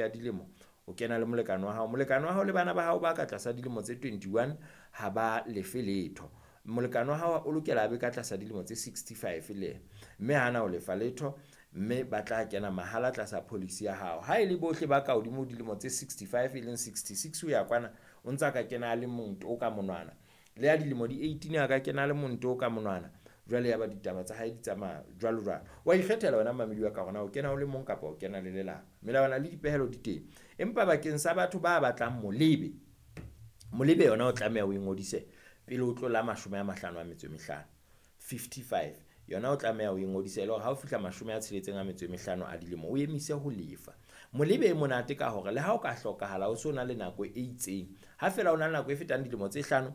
ya dilemo o kena le molekane wa hao. Molekane wa hao le bana ba hao ba ka tlasa dilemo tse 21 ha ba lefe letho. Molekane wa hao o lokela a be ka tlasa dilemo tse 65 le yena, mme ha na ho lefa letho, mme ba tla kena mahala tlasa policy ya hao. Ha e le bohle ba ka hodimo ho dilemo tse 65 e leng 66 ho ya kwana, o ntsa ka kena a le mong to ka monwana. Le ya dilemo di 18 a ka kena a le mong to ka monwana. Jwale ya ba ditaba tsa hae di tsamaya jwalo jwalo. Wa ikgethela wena mamedi wa ka hore na o kena o le mong kapa o kena le lelapa. Melawana le dipehelo di teng, empa bakeng sa batho ba batlang molebe, molebe yona o tlameha o ngodise pele o tlola 55, 55. Yona o tlameha o ngodise e le hore ha o fihla 65 a dilemo o emise ho lefa. Molebe e monate ka hore le ha o ka hlokahala o so na le nako e itseng, ha feela o na le nako e fetang dilemo tse 5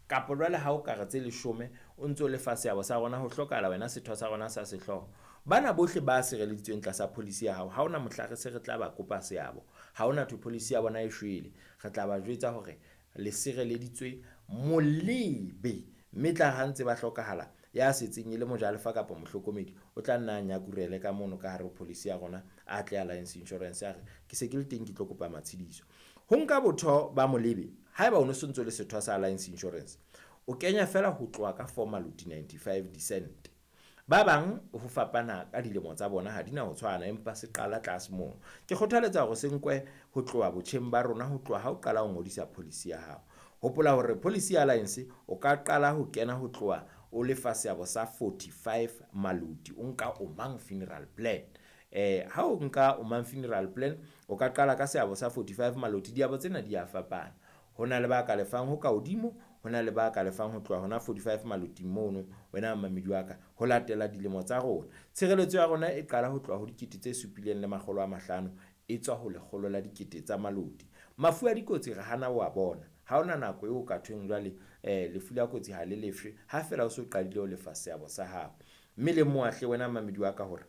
kapa jwale ha o ka re tse 10 o ntso lefa seabo sa rona, ho hlokahala wena setho sa rona sa sehlooho. Bana bohle ba sireleditsweng tlasa policy ya hao, ha hona mohla re se re tla ba kopa seabo, ha hona thwe policy ya bona e shwele. Re tla ba jwetsa hore le sireleditswe molebe, mme tla ha ntse ba hlokahala ya setseng e le mojalefa kapa mohlokomedi o tla nna a nyakurele ka mono ka hare ho policy ya rona, a tle Alliance Insurance a re ke se ke le teng ke tlo kopa matshidiso. Ho nka botho ba molebe, haeba o no so ntso le setho sa Alliance Insurance, o kenya fela ho tloha ka 4 maloti 95 dicent. Ba bang ho fapana ka dilemo tsa bona ha di na ho tshwana, empa se qala tlase mono. Ke kgothaletsa hore se nkwe ho tloha botjheng ba rona, ho tloha ha o qala ho ngodisa policy ya hao. Hopola hore policy ya Alliance o ka qala ho kena ho tloha o lefa seabo sa 45 maloti, o nka Omang funeral plan. Ha o nka Omang funeral plan o ka qala ka seabo sa 45 maloti. Diabo tsena di a fapana, ho na le ba ka lefang ho ka hodimo, ho na le ba ka lefang ho tloha hona 45 maloting mono, wena mamedi wa ka, ho latela dilemo tsa rona. Tshireletso ya rona e qala ho tloha ho 7 500, e tswa ho 100 la dikete tsa maloti. Mafu a dikotsi re hana wa bona, ha hona nako eo ka thweng jwale lefu la kotsi ha le lefshwe, ha feela o so qadile ho lefa seabo sa hao. Mme le moahle wena mamedi wa ka hore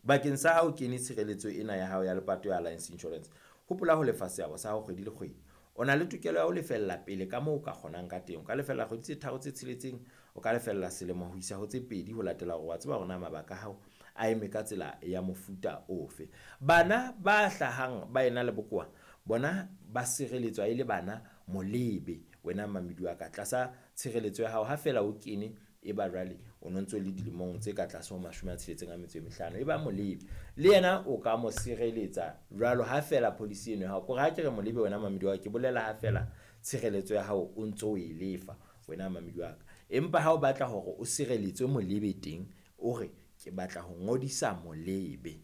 bakeng sa hao kene tshireletso ena ya hao ya lepato ya Alliance Insurance, hopola ho lefa seabo sa hao kgwedi le kgwedi. O na le tokelo ya ho lefella pele ka moo o ka kgonang ka teng. O ka lefella kgwedi tse 3 tse 6, o ka lefella selemo ho isa ho tse 2, ho latela hore wa tseba hore na mabaka a hao a eme ka tsela ya mofuta ofe. Bana ba hlahang ba ena le bokowa bona ba sireletswa e le bana molebe, wena mamedi wa ka, tlasa tshireletso ya hao. Ha feela o kene e ba jwale o no ntso le dilemong tse ka tlase ho 65, e ba molebe le yena o ka mo sireletsa jwalo ha feela policy eno ya hao. Kore ha ke re molebe wena mamedi wa ka, ke bolela ha feela tshireletso ya hao o ntso o e lefa wena mamedi wa ka. Empa ha o batla hore o sireletswe molebe teng, o re ke batla ho ngodisa molebe,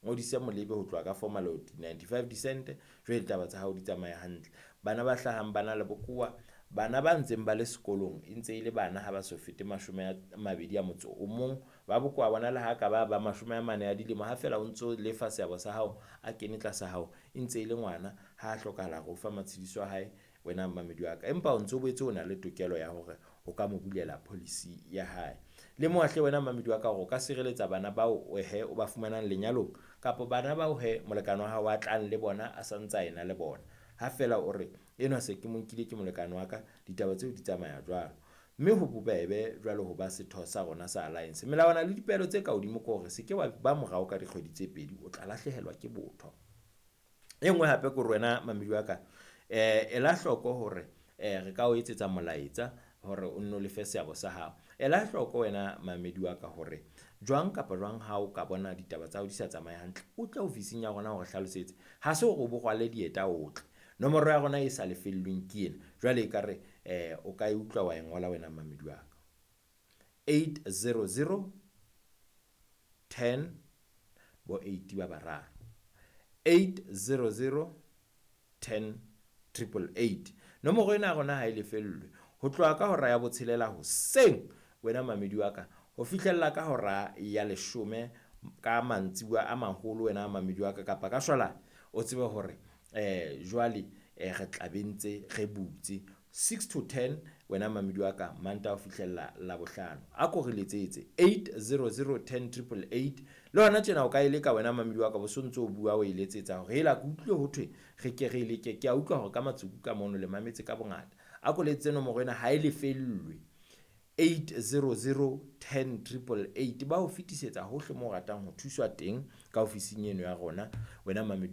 ngodise molebe ho tloha ka 4 maloti 95 dicent. Jwale ditaba tsa hao di tsamaya hantle. Bana ba hlahang ba na le bokowa, bana ba ntseng ba le sekolong e ntse e le bana ha ba so fete 21, ba bokowa bona le ha ka ba ba 40 a dilemo, ha feela o ntso lefa seabo sa hao a kene tlasa hao e ntse e le ngwana, ha a hlokahala re o fa matshidiso a hae wena mamedi wa ka. Empa o ntso boetse o na le tokelo ya hore o ka mo bulela policy ya hae. Le moahle wena mamedi wa ka hore o ka sireletsa bana bao he o ba fumanang lenyalong, kapa bana bao he molekane wa hao a tlang le bona a sa ntsa ena le bona. Ha feela o re enwa se ke mo nkile ke molekane wa ka, ditaba tseo di tsamaya jwalo. Mme ho bobebe jwalo ho ba setho sa rona sa Alliance. Melawana le dipehelo tse ka hodimo ke hore se ke wa ba morao ka dikgwedi tse 2, o tla lahlehelwa ke botho. E nngwe hape ke hore wena mamedi wa ka, ela hloko hore re ka o etsetsa molaetsa hore o nno lefe seabo sa hao. Ela hloko wena mamedi wa ka hore jwang kapa jwang ha o ka bona ditaba tsa hao di sa tsamaye hantle, o tle ofising ya rona hore hlalosetse. Ha se hore o bo rwale dieta o tle. Nomoro ya rona e sa lefellweng ke ena. Jwale ekare o ka e utlwa wa e ngola wena mamedi wa ka. 800 10 bo 8 ba bararo. 800 10 888. Nomoro ena ya rona ha e lefellwe. Ho tloha ka hora ya 6 hoseng wena mamedi wa ka, ho fihlella ka hora ya 10 ka mantsibuya a maholo wena mamedi wa ka, kapa ka shwalane, o tsebe hore jwale re tla be ntse re butse 6 to 10 wena mamedi wa ka, Mantaha ho fihlella Labohlano. A ko re letsetse 800 10 888. Le hona tjena o ka e leka wena mamedi wa ka, bo so ntso o bua o e letsetsa hore hela ke utlwile ho thwe re ke re leke, ke a utlwa hore ka matsuku ka mono le mametse ka bongata. A ko letsetse nomoro ena ha e lefellwe. 800 10 888, ba o fetisetsa hohle moo o ratang ho thuswa teng ka ofising eno ya rona, wena mamedi.